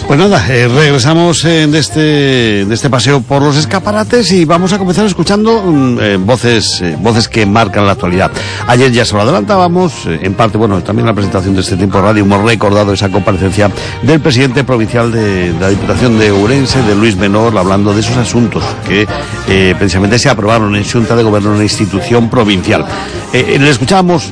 Pues nada, regresamos de este paseo por los escaparates y vamos a comenzar escuchando voces que marcan la actualidad. Ayer ya se lo adelantábamos, en parte, bueno, también en la presentación de este Tiempo Radio hemos recordado esa comparecencia del presidente provincial de la Diputación de Ourense, de Luis Menor, hablando de esos asuntos que precisamente se aprobaron en Xunta de Gobierno en la institución provincial. Le escuchábamos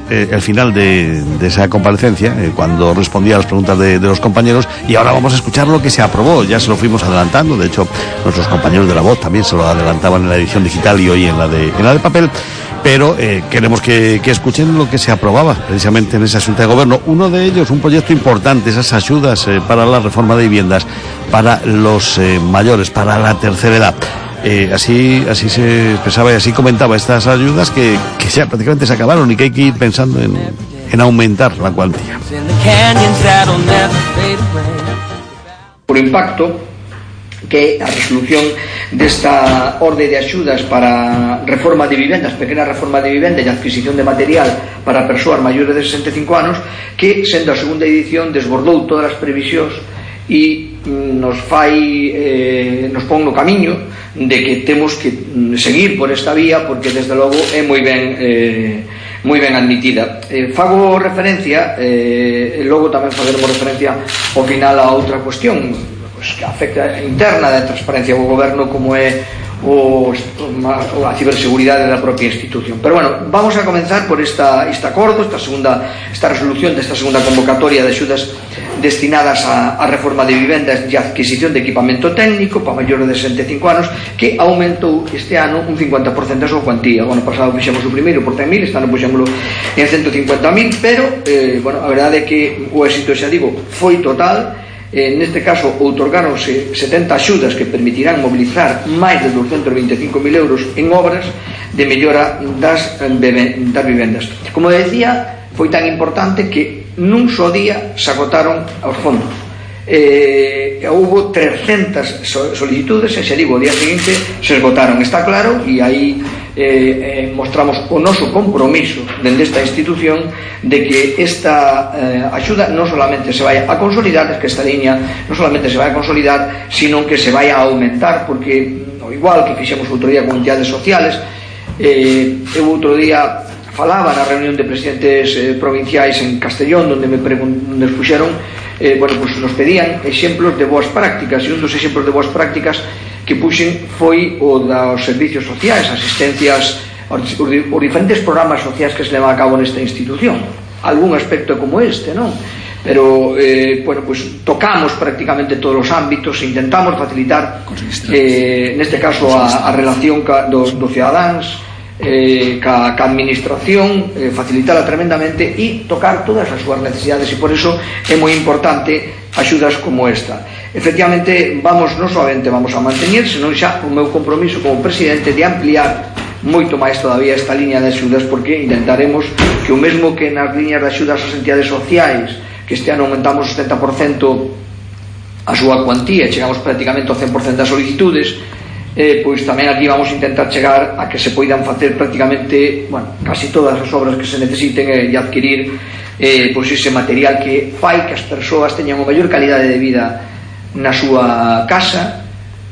el final de esa comparecencia, cuando respondía a las preguntas de los compañeros, y ahora vamos a escuchar lo que se aprobó. Ya se lo fuimos adelantando, de hecho nuestros compañeros de La Voz también se lo adelantaban en la edición digital y hoy en la de papel, pero queremos que escuchen lo que se aprobaba precisamente en esa Xunta de Gobierno. Uno de ellos, un proyecto importante, esas ayudas para la reforma de viviendas para los mayores, para la tercera edad. Así se expresaba y así comentaba estas ayudas que ya prácticamente se acabaron y que hay que ir pensando en aumentar la cuantía. Por impacto que a resolución desta orde de axudas para reforma de vivendas, pequena reforma de vivenda e adquisición de material para persoas maiores de 65 anos, que sendo a segunda edición desbordou todas as previsións e nos pon no camiño de que temos que seguir por esta vía, porque desde logo é moi ben admitida. Fago referencia, logo tamén faceremos referencia ao final a outra cuestión que afecta interna da transparencia do goberno, como é a ciberseguridade da propia institución. Pero bueno, vamos a comenzar por este acordo, esta resolución desta segunda convocatoria de axudas destinadas a reforma de vivendas e adquisición de equipamento técnico para maiores de 65 anos, que aumentou este ano un 50% a súa cuantía. O ano pasado fixemos o primeiro por 100.000, este ano puxémoslo en 150.000, pero a verdade é que o éxito, xa digo, foi total. Neste caso outorgáronse 70 axudas que permitirán mobilizar máis de 225.000 euros en obras de mellora das vivendas. Como decía, foi tan importante que nun só día se agotaron os fondos. Houbo 300 solicitudes e, xa digo, o día seguinte se esgotaron. Está claro, e aí mostramos o noso compromiso dende esta institución de que esta axuda non solamente se vai a consolidar, es que esta liña non solamente se vai a consolidar, sino que se vai a aumentar, porque ao igual que fixemos outro día con entidades sociales, eu outro día falaba na reunión de presidentes provinciais en Castellón, onde nos puxeron, nos pedían exemplos de boas prácticas, e un dos exemplos de boas prácticas que puxen foi o dos servicios sociais, asistencias, os diferentes programas sociais que se levan a cabo nesta institución. Algún aspecto como este, non? Pero, tocamos prácticamente todos os ámbitos e intentamos facilitar, neste caso, a relación dos cidadáns ca administración, facilitarla tremendamente e tocar todas as súas necesidades, e por iso é moi importante axudas como esta. Efectivamente, non solamente vamos a mantener, senón xa o meu compromiso como presidente de ampliar moito máis todavía esta liña de axudas, porque intentaremos que o mesmo que nas liñas de axudas ás entidades sociais, que este ano aumentamos o 70% a súa cuantía, chegamos prácticamente ao 100% das solicitudes, pois tamén aquí vamos a intentar chegar a que se poidan facer prácticamente casi todas as obras que se necesiten e adquirir ese material que fai que as persoas teñan a maior calidade de vida na súa casa,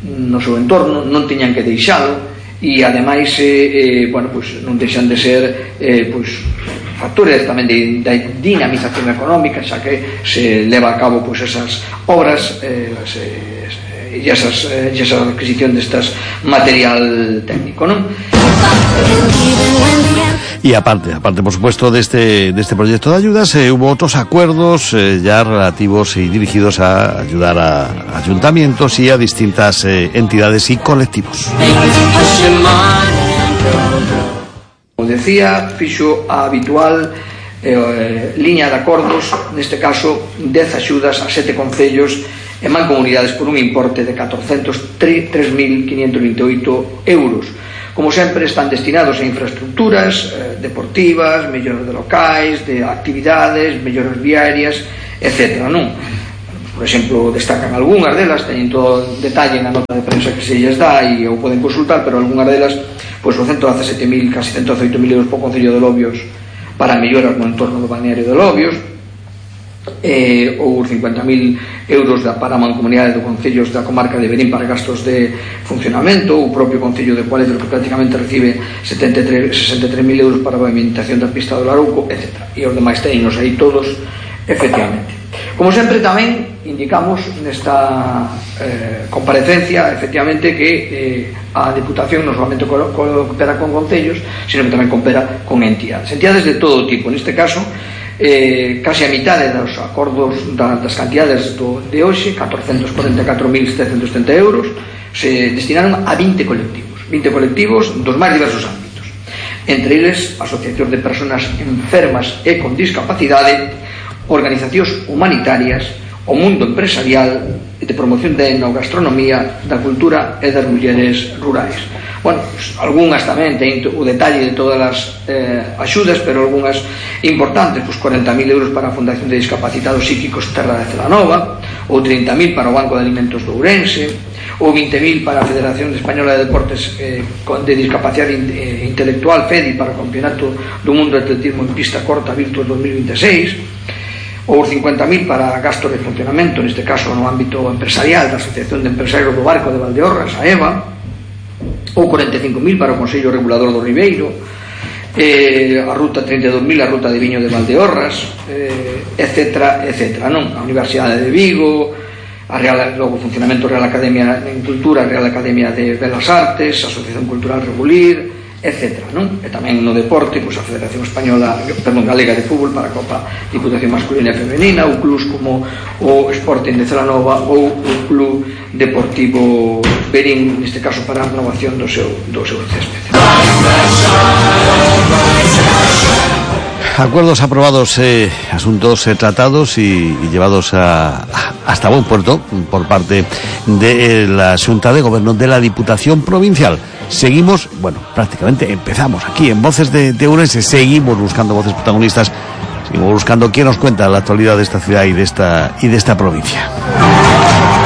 no seu entorno, non teñan que deixalo, e ademais non deixan de ser factores tamén de dinamización económica, xa que se leva a cabo esas obras e esa adquisición destas material técnico, non? Y aparte, por supuesto, de este proyecto de ayudas, hubo otros acuerdos ya relativos y dirigidos a ayudar a ayuntamientos y a distintas entidades y colectivos. Como decía, fixo a habitual liña de acordos, neste caso 10 axudas a 7 concellos e mancomunidades por un importe de 403.528 euros. Como sempre, están destinados a infraestructuras deportivas, melloras de locais, de actividades, melloras viarias, etc. Por exemplo, destacan algunhas delas, teñen todo detalle na nota de prensa que se lles dá e o poden consultar, pero algunhas delas, o 117.000, casi 118.000 euros por Concello de Lobios para melloras no entorno do balneario de Lobios, ou 50.000 euros para a mancomunidade de concellos da comarca de Verín para gastos de funcionamento, o propio concello de Cualedro que prácticamente recibe 63.000 euros para a pavimentación da pista do Larouco, etc. E os demais teños aí todos, efectivamente. Como sempre tamén indicamos nesta comparecencia efectivamente que a Diputación non solamente coopera con concellos, sino que tamén coopera con entidades de todo tipo. Neste caso case a mitade dos acordos das cantidades de hoxe, 444.770 euros, se destinaron a 20 colectivos dos máis diversos ámbitos, entre eles asociacións de persoas enfermas e con discapacidade, organizacións humanitarias, o mundo empresarial, de promoción da enogastronomía, da cultura e das mulleres rurais. Bueno, pues, algunhas tamén ten o detalle de todas as axudas, pero algunhas importantes, pues 40.000 euros para a Fundación de Discapacitados Psíquicos Terra de Celanova, ou 30.000 para o Banco de Alimentos de Ourense, ou 20.000 para a Federación Española de Deportes de Discapacidade Intelectual, FEDI, para o Campeonato do Mundo de Atletismo en Pista Corta Virtus 2026, ou 50.000 para gastos de funcionamento, neste caso no ámbito empresarial da Asociación de Empresarios do Barco de Valdeorras, a EVA, ou 45.000 para o Consello Regulador do Ribeiro, a Ruta 32.000, a Ruta de Viño de Valdeorras, etc. Non? A Universidade de Vigo, logo o funcionamento Real Academia en Cultura, Real Academia de Belas Artes, a Asociación Cultural Regulir, etc. Non? E tamén no deporte, pois a Federación Galega de Fútbol para a Copa Diputación Masculina e Femenina, ou clubs como o Sporting de Celanova ou o Club Deportivo Verín, neste caso para a renovación do seu césped. Acuerdos aprobados, asuntos tratados y llevados hasta buen puerto por parte de la Xunta de Gobierno de la Diputación Provincial. Seguimos, bueno, prácticamente empezamos aquí en Voces de Ourense, seguimos buscando voces protagonistas, seguimos buscando quién nos cuenta la actualidad de esta ciudad y de esta provincia.